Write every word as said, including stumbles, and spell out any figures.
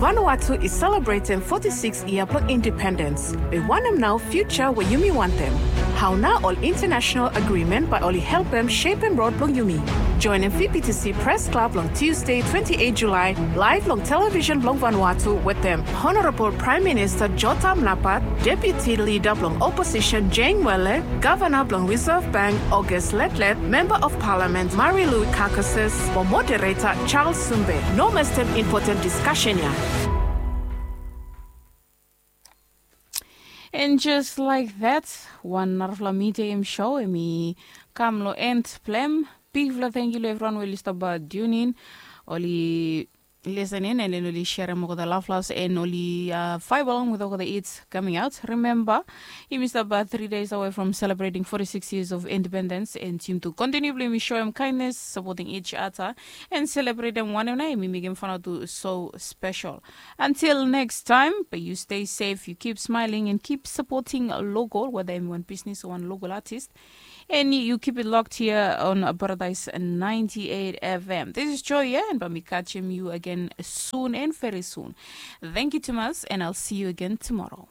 Vanuatu i selebretem foti sikis yia blong independens. Be wanem nao fiuja we yumi wantem? Hao nao ol intanasenal agrimen bae oli helpem sepem rod blong yumi? Joenem V B T C Pres Klab long Tusde twenti eit Julae, laev long televisen blong Vanuatu wetem Honorabol Praem Minista Jotham Napat, Deputi Lida blong Oposisen Jane Wele, Gavana blong Risev Bank August Letlet, Memba of Palamen Marilou Carcasses, mo Modereta Charles Sumbe. No mestem impoten diskasen ya. And just like that, wan narafala midia em show em i kam long end blong em. Bigfala tangkiu long evriwan we oli stap tune in, oli listen in, and then oli serem olgeta laflas and oli uh, vibe along with olgeta hits coming out. Remember, yumi stap three days away from celebrating forty-six years of independence, and yumi tu continue blong yumi show em kindness, supporting each other, and celebrate em wanem nao yumi mekem fanaut tu so special. Until next time, but you stay safe, you keep smiling and keep supporting local, whether em wan business or wan local artist. And you keep it locked here on Paradise ninety-eight F M. This is Joy, yeah, and bae mi catch you again soon and very soon. Thank you, Thomas, and I'll see you again tomorrow.